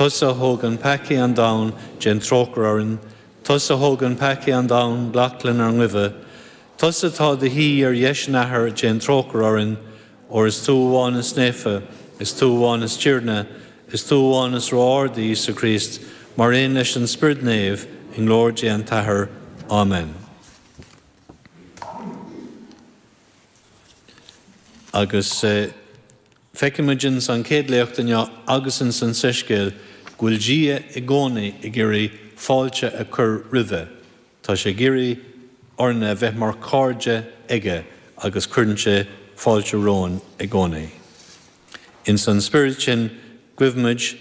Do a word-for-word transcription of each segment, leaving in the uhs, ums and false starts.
Tusa a thógann peacaí an domhain, déan trócaire orainn, Tusa a thógann peacaí an domhain, glac lenár nguibhe, Tusa atá i do shuí ar dheis an Athar, déan trócaire orainn, óir is tú amháin is naofa, is tú amháin is Tiarna, is tú amháin is ró-ard, a Íosa Críost, mar aon leis an Spiorad Naomh, i nglóir Dé an tAthair. Amen. Agus feicimid ins an chéad léacht inniu agus ins an Soiscéal go bhfuil Dia i gcónaí ag iarraidh fáilte a chur roimhe. Tá sé ag iarraidh orainne a bheith mar chairde aige agus cuireann sé fáilte romhainn i gcónaí. Ins an spiorad sin guímid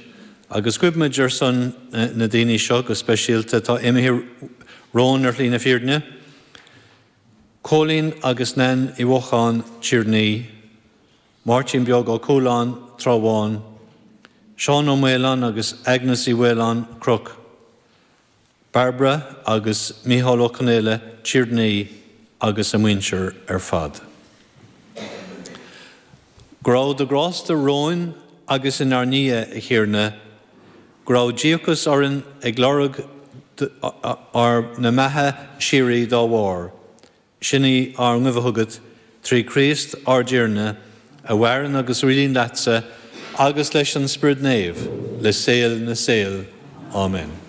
agus guímid ar son na daoine seo go speisialta atá imithe romhainn ar shlí na fírinne, Cóilín agus Nan Uí Mhocháin, Tír an Fhia, Máirtín Beag Ó Cualáin, Trá Bháin, Seán Ó Maoláin agus Agnes Uí Mhaoláin, Cnoc, Bairbre agus Mícheál Ó Conaola, Tír an Fhia agus a muintir ar fad. Go raibh do ghrásta romhainn agus inár ndiaidh, a Thiarna, go raibh díocas orainn ag lorg ár na mbeatha síoraí dá bharr. Sin í ár nguibhe chugat, trí Chríost ár dTiarna, a mhaireann agus a rialaíonn leatsa agus leis an Spiorad Naomh, le saol na saol. Amen.